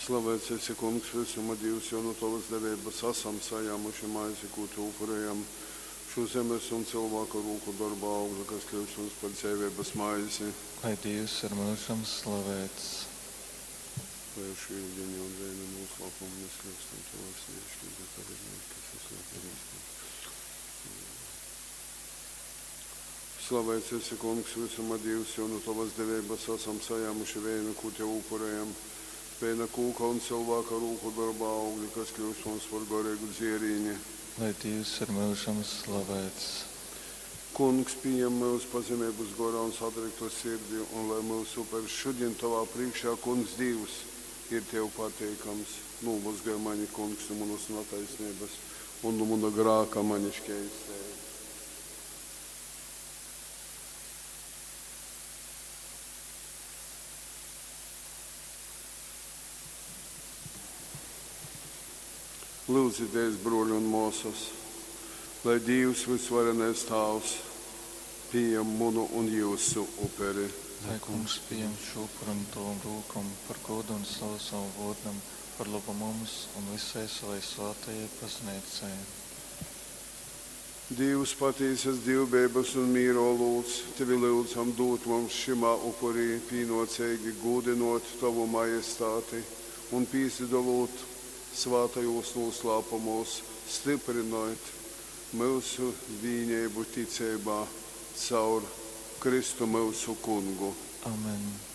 Slavēts esi, Kungs, vysuma Dīvs, jo nu tovas deveibas asam sajāmuši maizi, kū tev upurejam, šū zemes un cylvāka rūku dorba augli, kas kļūst mums par dzeiveibas maizi. Lai Dīvs ir myužam slavēts. Lai ar šū yudini un veina nūslāpumu mēs kļūstam tovas dievišķīgas dalībnieki, kas esi labi. Slavēts esi, Kungs, visuma Dīvs, jo nu tovas deveibas asam sajāmuši veinu, kū tev upurējam. Veina kūka un cilvēka rūku dorba augļi, kas kļūst mums par goreigu dzierīni. Lai Dīvs ir myužam slavēts. Kungs, pieņem mūs pazemeibas gorā un satriktu sirdi, un lai mūsu upers šodien tavā priekšā, Kungs Dievs, ir tev pateikams. Nomazgāj mani, Kungs, no manas netaisnības un no mana grāka mani šķeistē. Lūdzieties, broļi un māsas, lai Dievs visvarenais Tāvs pieņem munu un jūsu uperi. Lai kungs pieņem šo upuru no tavam rūkam par godu un slavu savam vārdam, par labu mums un visai savai svētajai baznīcai. Dievs patīsas dievbeibas un mīro lūdz, tevi lūdzam dot mums šimā upurī pīnocīgi gūdinot tavu majestāti un pīsidalot svātajos noslēpumos, stiprinot mūsu vīnību ticībā caur Kristu mūsu kungu. Amen.